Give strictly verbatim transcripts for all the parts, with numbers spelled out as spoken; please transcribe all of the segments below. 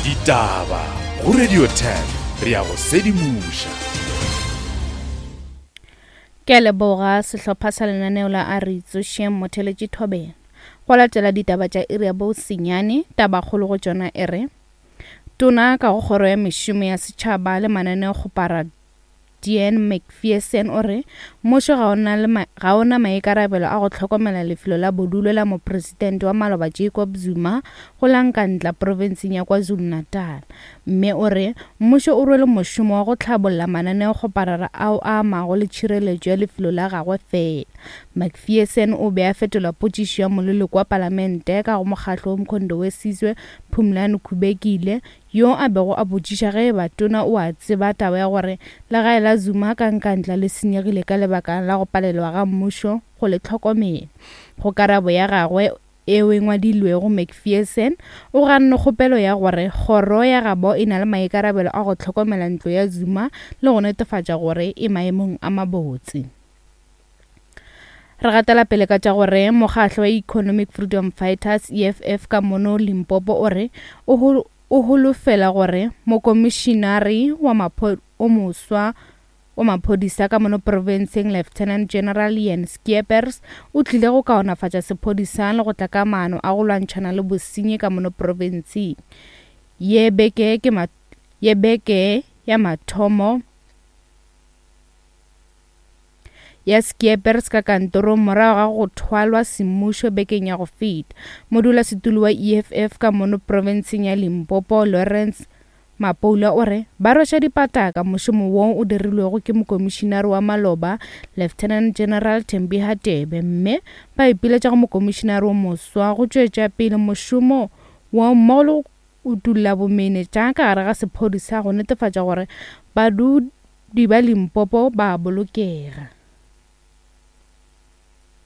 Ditaba go Radio ten re ya go sedimoša. Ke a leboga sehlopha sa lenaneo la a re tsošeng motheletši Thobela. Go latela ditaba tša iri ya bo senyane, tabakgolo go tšona e re Tona ka go kgoro ya mešomo ya setšhaba le mananeokgopara Dean McPherson o re mmušo ga ona le ma, ga ona maikarabelo a go hlokomela lefelo la bodulo la mopresidente wa maloba Jacob Zuma go la Nkandla profenseng ya KwaZulu-Natal. Mme o re mmušo o rwele mošomo wa go hlabolla mananeokgoparara ao a amago le tšhireletšo ya lefelo la gagwe fela. McPherson o be a fetola potšišo ya moleloko wa palamente ka go mokgahlo wa Umkhonto we Sizwe Phumlani Khubekile yo a bego a botšiša ge eba tona o a tseba taba ya gore legae la Zuma ka Nkandla le senyegile ka lebaka la go palelwa ga mmušo go le hlokomela. Go karabo ya gagwe eo e ngwadilwego McPherson o ganne kgopelo ya gore kgoro ya gabo e na le maikarabelo a go hlokomela ntlo ya Zuma le go netefatša gore e maemong a mabotse. Re gatela pele ka tša gore mokgahlo wa Economic Freedom Fighters E F F ka mono Limpopo o re o o holofela gore mokomišinare wa mapho o moswa wa maphodisa ka mono profenseng Lieutenant General Ian Skeepers o tlile go kaonafatša sephodisa le go tla ka maano a go lwantšhana le bosenyi ka mono profenseng. Ye beke ke ma, ye beke ya mathomo ya Skeepers ka kantorong morago ga go thwalwa semmušo bekeng ya go feta. Modulasetulo wa E F F ka mono profenseng ya Limpopo Lawrence Mapoula o re ba rweša dipataka mošomo wo o dirilwego ke mokomišinare wa maloba Lieutenant General Thembi Hadebe, mme ba ipiletša go mokomišinare wo moswa go tšwetša pele mošomo wo mmogo le go utulla bomenetša ka gare ga sephodisa go netefatša gore badudi ba Limpopo ba bolokega.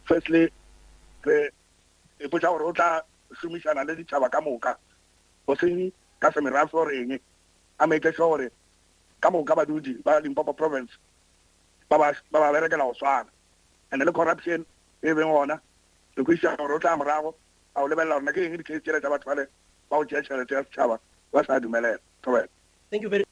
Firstly, re ipotša gore o tla šomišana le ditšhaba ka moka, go seng ka semerafe or eng, a make sure gore ka moka badudi ba Limpopo province ba ba ba ba berekela go swana. And le corruption e beng gona, re kwešiša gore o tla morago a o lebelela gore na ke eng di-case tšela tša batho bale ba go tšea tšhelete ya setšhaba ba sa dumelela. Thobela. Thank you very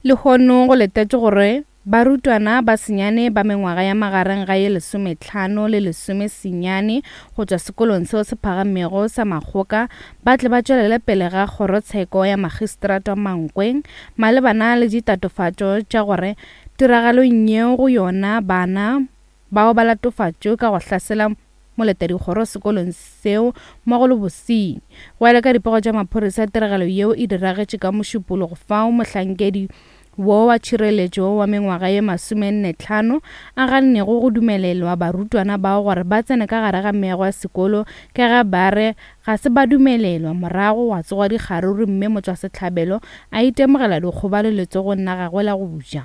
Lehono go letetše gore barutwana ba senyane ba mengwaga ya magareng ga ye lesometlhano le lesome senyane go tšwa sekolong seo se phagamego sa Makgoka ba tle ba tšwelele pele ga kgorotsheko ya magistrata Mankweng malebana le ditatofatšo tša gore tiragalong yeo go yona bana bao ba latofatšwe ka go hlasela moletadikgoro sekolong seo mmogo le bosenyi. Go ya le ka dipego tša maphodisa, tiragalo yeo e diragetše ka Mošupologo fao mohlankedi wo wa tšhireletšo wa mengwaga ye masomenne tlhano a gannego go dumelelwa barutwana bao gore ba tsene ka gare ga meago ya sekolo ka ge ba re ga se ba dumelelwa. Morago wa tsoga dikgaruru mme motswasehlabelo a itemogela dikgobalo letsogong la gagwe la go ja.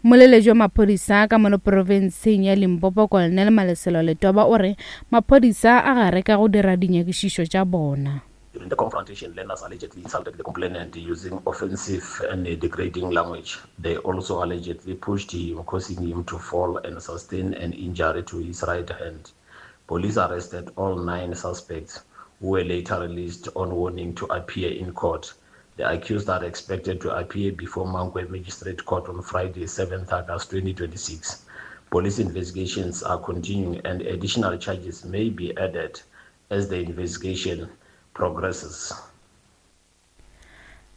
Moleletši wa maphodisa ka mono profenseng ya Limpopo Colonel Malesela Letoba o re maphodisa a gare ka go dira dinyakišišo tša bona. During the confrontation, learners allegedly insulted the complainant using offensive and degrading language. They also allegedly pushed him, causing him to fall and sustain an injury to his right hand. Police arrested all nine suspects, who were later released on warning to appear in court. The accused are expected to appear before Mankweng Magistrate Court on Friday, seventh August twenty twenty-six. Police investigations are continuing and additional charges may be added as the investigation progresses.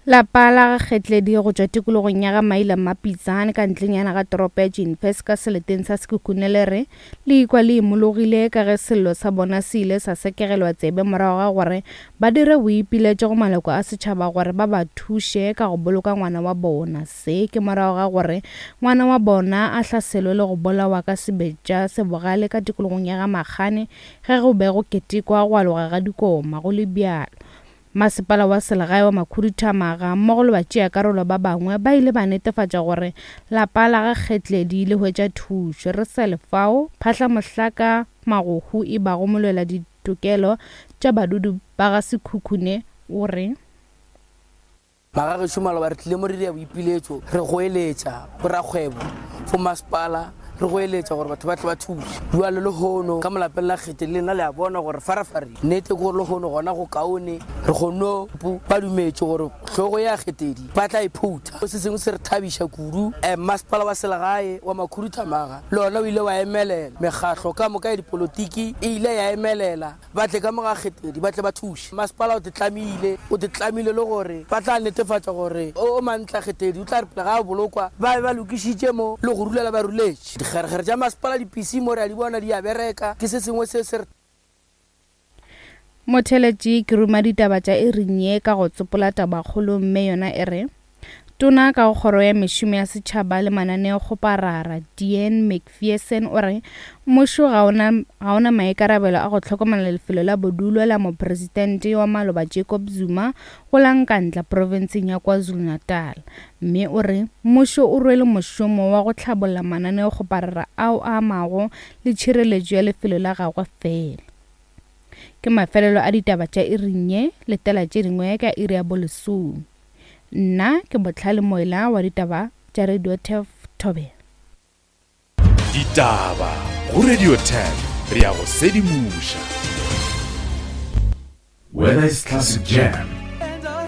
Lapa la Kgetledi go tšwa tikologong ya ga Maila Mapitsane ka ntlenyana ga toropo ya Jeanfest ka seleteng sa Sekhukhune le re le ikwa le imologile ka ge sello sa bona se ile sa sekegelwa tsebe morago ga gore ba dire boipiletšo go maloko a setšhaba gore ba ba thuše ka go boloka ngwana wa bona. Se ke morago ga gore ngwana wa bona a hlaselwe le go bolawa ka sebetša se bogale ka tikologong ya ga Makgane ge go be go ketekwa go aloga ga dikoma. Go le bjalo, masepala wa selegae wa Makhuduthamaga mmogo le batšeakarolo ba bangwe ba ile ba netefatša gore lapa la ga Kgetledi le hwetša thušo. Re sa le fao, Phahla Mohlaka Magohu e bago molwela ditokelo tša badudi ba ga Sekhukhune o re Magagešo maloba re tlile mo re dira boipiletšo, re goeletša borakgwebo, bo masepala Re go eletša gore batho ba tle ba thuše. Jwale lehono ka molapeng la Kgetedi le nna le a bona gore farafareng. Nnete ke gore lehono gona go kaone re kgonne ba dumetše gore hlogo ya Kgetedi ba tla e phutha. Se sengwe se re thabiša kudu, masepala wa selegae wa Makhuduthamaga le ona o ile wa emelela. Mekgahlo ka moka ya dipolotiki e ile ya emelela, ba tle ka mo ga Kgetedi ba tle ba thuše. Masepala o te tlamile, o te tlamile le gore ba tla netefatša gore o mantla Kgetedi o tla re pele ga a bolokwa ba be ba lokišitše mo le go rulela ba ruletše. Dikgerekgere tša masepala di-P C mo re a di bona di a bereka, ke se sengwe se se re. Motheletši ke ruma ditaba tša iring ye ka go tsopola tabakgolo mme yona e re Tona ka go kgoro ya mešomo ya setšhaba le mananeokgoparara Dean Macpherson o re mmušo ga ona ga ona maikarabelo a go hlokomela lefelo la bodulo la mopresidente wa maloba Jacob Zuma go la Nkandla profenseng ya KwaZulu-Natal, mme o re mmušo o rwele mošomo wa go hlabolla mananeokgoparara ao a amago le tšhireletšo ya lefelo la gagwe fela. Ke mafelelo a ditaba tša iring ye, letela tše dingwe ka iri ya bolesome. Nna ke Botlhale Moela wa ditaba tša Radio Turf Thobela. Ditaba go Radio Turf, re ya go sedimoša. Whether it's classic jam